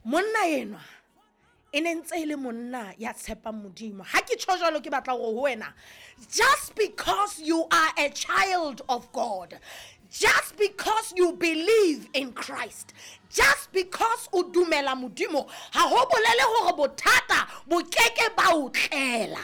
Monna enwa e ne ntse e le monna ya tshepang Modimo. Ha ke tjho jwalo, ke batla hore ho wena, just because you are a child of God, just because you believe in Christ, just because o dumela Modimo, ha ho bolele hore bothata bo keke ba o tlela.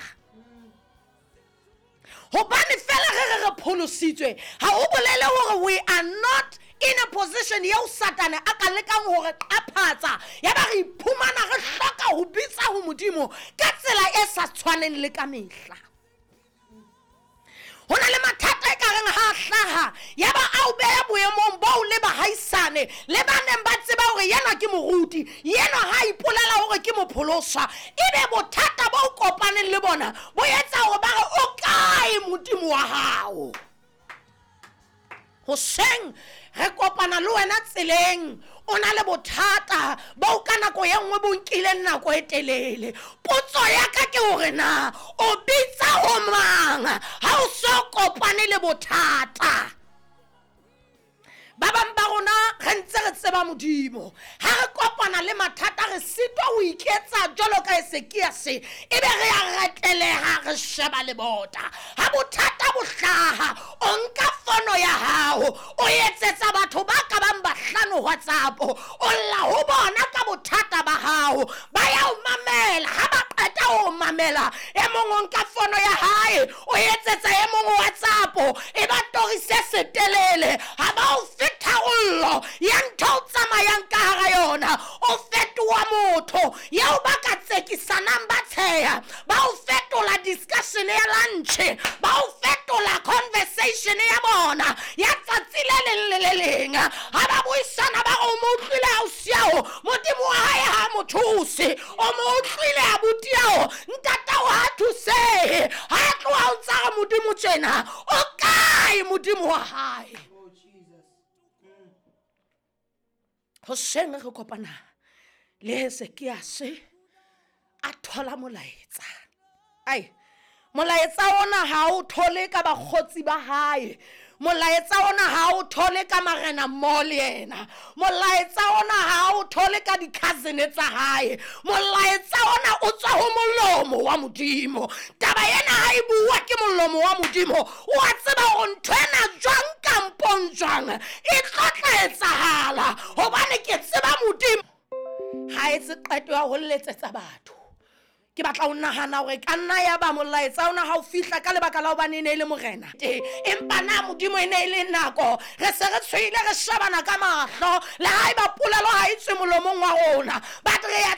Hobane fela re re re pholositswe, ha ho bolele hore we are not in a position eo Satane a ka lekang hore qaphatsa, ya ba re iphumana re hloka ho bitsa ho Modimo ka tsela e sa tshwaneng le ka mehla. Ho na le mathata e ka reng ha a hlaha, ya ba a o beha boemong boo le bahaisane le ba neng ba tseba hore yenwa ke moruti, yenwa ha a ipolela hore ke mopholoswa, ebe bothata bo kopaneng le bona bo etsa hore ba re, o kae Modimo wa hao? Hoseng re kopana le wena tseleng, o na le bothata bo ka nako e nngwe bo nkileng nako e telele. Potso ya ka ke hore na o bitsa ho mang ha o so kopane le bothata? Ba bang ba rona re ntse re tseba Modimo, ha re kopana le mathata re sitwa ho iketsa jwalo ka Esekiase, ebe re a reteleha, re sheba lebota. Ha bothata bo hlaha, o nka fono ya hao, o etsetsa batho ba ka bang bahlano WhatsApp, o lla ho bona ka bothata ba hao, ba ya o mamela. Ha ba qeta ho mamela, e mong o nka fono ya hae, o etsetsa e mong WhatsApp, e ba torise setelele, ha ba o fe tharollo ya ntho o tsamayang ka hara yona. O fetoha motho eo ba ka tsekisanang, ba tsheha, ba o fetola discussion ya lunch, ba o fetola conversation ya bona ya tsatsi le leng le le leng. Ha ba buisana, ba re, o mo utlwile ausiao, Modimo wa hae ha mo thuse? O mo utlwile abutiao, ntatao ha thusehe? Ha tloha o ntsa re Modimo tjena, o kae Modimo wa hae? Oh, Jesus. Hoseng re kopana le Hesekiase a thola molaetsa. Ai, molaetsa ona ha o thole ka bakgotsi ba hae, molaetsa ona ha o thole ka marena mmoho le yena, molaetsa ona ha o thole ka di-cousin tsa hae, molaetsa ona o tswa ho molomo wa Modimo. Taba ena ha e bua ke molomo wa Modimo, o a tseba hore ntho ena jwang kampong jwang e tlo tla etsahala, hobane ke tseba Modimo. Ha etse qeto ya ho letsetsa batho. Ke batla ho nahana hore ka nna ya ba molaetsa ona ha o fihla ka lebaka la hobane e ne e le morena, empa na Modimo e ne e le nako re se re tshohile, re shebana ka mahlo, le ha eba polelo ha e tswe molomong wa rona, but re ya